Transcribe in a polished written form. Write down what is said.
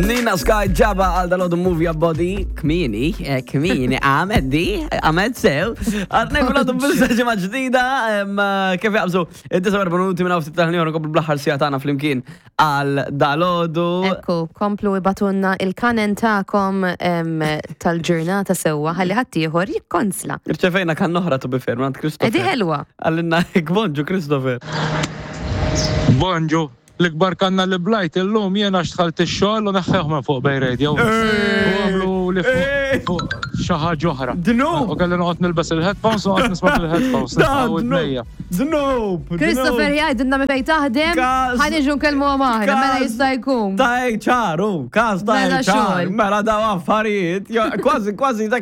Nina Sky ġaba għal dal-għodu Move Your Body. Kmini, eh, kmini, għamed di, għamed sew. Għadna fil-għodu bissa ġimgħa ġdida, eh, kif jaqbżu, id-49 minuti minn ftit tal-ħin nkomplu bl-aħħar sija tagħna flimkien għal dal-għodu. Ekku, komplu ibatunna il-kanen tagħkom tal-ġurnata sewwa ħalli ħaddieħor jikkonsla. Irċevejna kan oħra to be fair, minn Christopher. Edi ħelwa. Għallinna bonġu Christopher. Bonġu. L-ikbar kanna li blajt illum jien għax dħalt ix-xogħol u neħħewh minn fuq Bay Radio. U għamlu li fuq xi ħaġa oħra. Dnub! U kelli noqgħod nilbes il-headphones u noqgħod nisma' bil-headphones. Dnub! Dnub! Christopher jgħidilna minn fejn taħdem, ħa niġu nkellmuhom aħna, mela jista' jkun. Ta' HR, u każ ta' Mela HR, xogħol. mela daw affarijiet, kważi kważi dak.